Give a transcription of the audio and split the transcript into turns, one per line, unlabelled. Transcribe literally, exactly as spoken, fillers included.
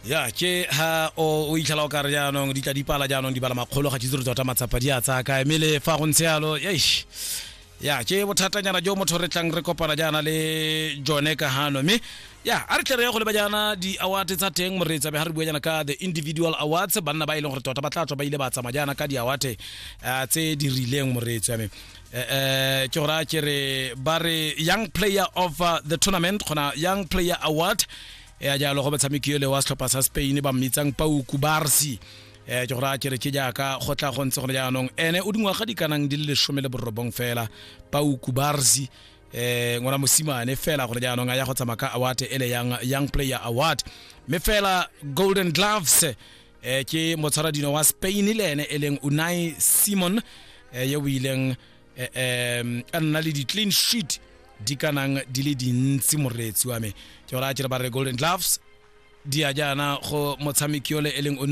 Ya, ke ha o o itlhela o ka re jaanong di tla di pala, jaanong di bala makgolo, ga tse tota matsapa di a tsaya kae? Mme le fa go ntse yalo, eish, ya ke bothatanyana jo motho re tlang re kopana jaana le jone ka hano. Mme ya, a re tle re ye go leba jaana di-award tsa teng, moreetsi. Be ga re bua jaana ka the individual awards, banna ba e leng gore tota ba tla tswa ba ile ba tsamaya jaana ka di-award eh, tse di rileng, moreetsi wa me. eh ke gore a ke re ba re young player of uh, the tournament, gona young player award ya jalo go motshameki yole wa setlhopha sa Spain ba mmitsang Pau Cubarsi. eh ke gore a kere ke jaaka go tla go ntse gone jaanong, ene o dingwaga di kanang di le lesome le borobong fela, Pau Cubarsi, eh ngwana mosimane fela gore jaanong a ya go tsamaya ka award ele young, young player award. Mme fela golden gloves eh ke motshwaradino wa Spain le ene e leng Unai Simon, eh yo o ileng eh, eh, a nna le di-clean sheet di kanang di le dintsi, moreetsi wa me. Ke gore a kere ba re golden gloves di a jaana go motshameki yole e leng Unai.